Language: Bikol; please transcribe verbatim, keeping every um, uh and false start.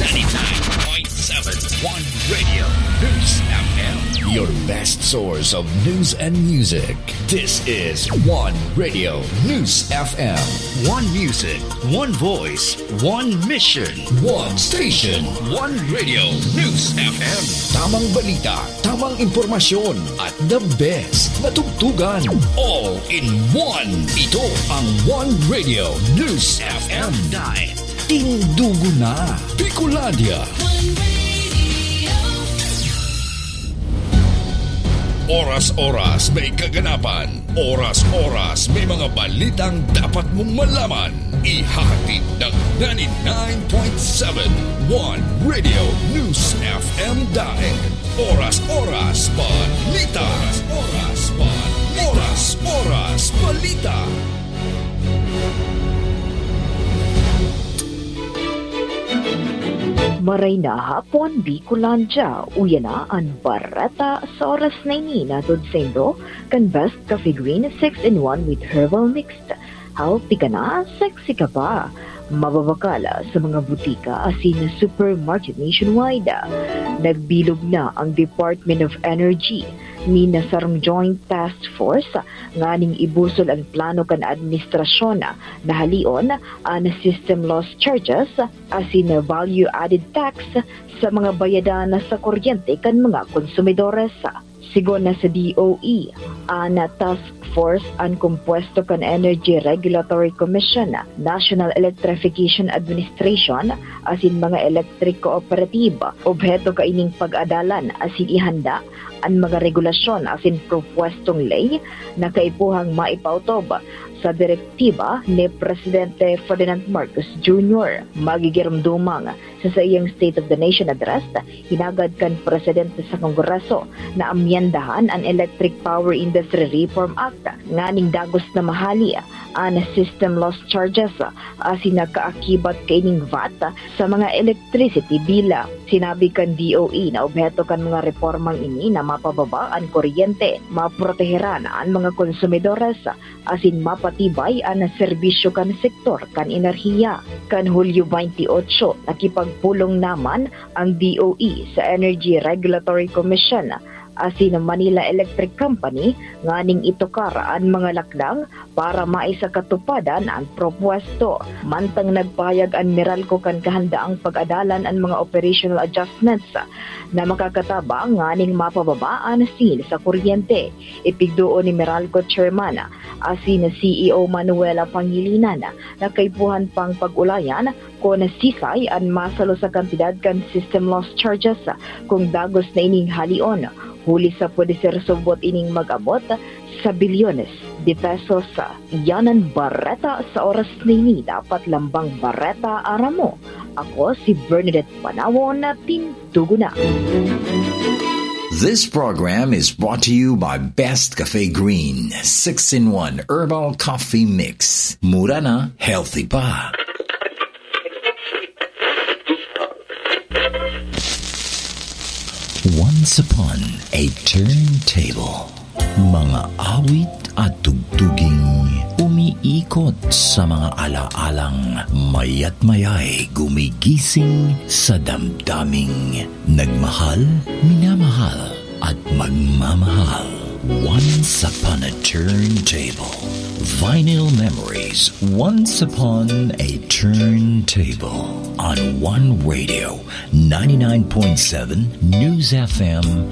ninety-nine point seven One Radio News F M. Your best source of news and music. This is One Radio News F M. One music, one voice, one mission. One station. One Radio News F M. Tamang balita, tamang impormasyon, at the best na tugtugan. All in one. Ito ang One Radio News F M. Dahil tindugo na. Bicolandia. Oras-oras may kaganapan. Oras-oras may mga balitang dapat mong malaman. Ihahatid ng ninety-nine point seven One Radio News F M Daet. Oras-oras balita. Oras-oras balita. Oras-oras balita. Maray na hapon, Bicolandia. Uya na an bareta sa oras na ini, hatod saindo kan Best Cafe Green six in one with Herbal Mix. Healthy ka na, sexy ka pa. Mababakal sa mga butika asin supermarket nationwide. Nagbilog na ang Department of Energy nin sarong joint task force nganing ibusol an plano kan administrasyon na halion an system loss charges asin value-added tax sa mga bayadan sa kuryente kan mga konsumidores. Sigon na sa D O E, an task force an kompuesto kan Energy Regulatory Commission, National Electrification Administration, asin mga electric cooperative. Obheto kaining pag-adalan asin ihanda an mga regulasyon asin propuestong ley na kaipuhang maipautob sa direktiba ni Presidente Ferdinand Marcos Junior. Magigiromdomang sa saiyang State of the Nation Address, hinagad kan Presidente sa Kongreso na amyendahan an Electric Power Industry Reform Act nganing dagos na mahali an system loss charges asin nakaakibat kaining V A T sa mga electricity bill. Sinabi kan D O E na obheto kan mga reformang ini na mapababa an kuryente, maproteheran an mga konsumidores, asin mapatibay an serbisyo kan sektor kan enerhiya. Kan Hulyo twenty-eight, nakipagpulong naman ang D O E sa Energy Regulatory Commission asin Manila Electric Company nganing itukar an mga lakdang para maisakatupadan an propuesto. Mantang nagpahayag an Meralco kan kahandaang pag-adalan an mga operational adjustments na makakatabang nganing mapababa an singil sa kuryente. Ipigduon ni Meralco Chairman asin C E O Manuela Pangilinan na kaipuhan pang pag-ulayan kun sisay an masalo sa kantidad kan system loss charges kung dagos na ining halion, huli sa pwede ser subot ining mag-abot sa bilyones de pesos. Iyan an bareta sa oras na ini. Dapat lambang bareta aram mo. Ako si Bernadette Panawon na tindugo na. This program is brought to you by Best Cafe Green, six-in-one Herbal Coffee Mix. Mura na, healthy pa. Once upon a turntable. Mga awit at tugtuging umiikot sa mga alaalang mayat mayay gumigising sa damdaming nagmahal, minamahal, at magmamahal. Once upon a turntable. Vinyl memories. Once upon a turntable. On One Radio, ninety-nine point seven News F M,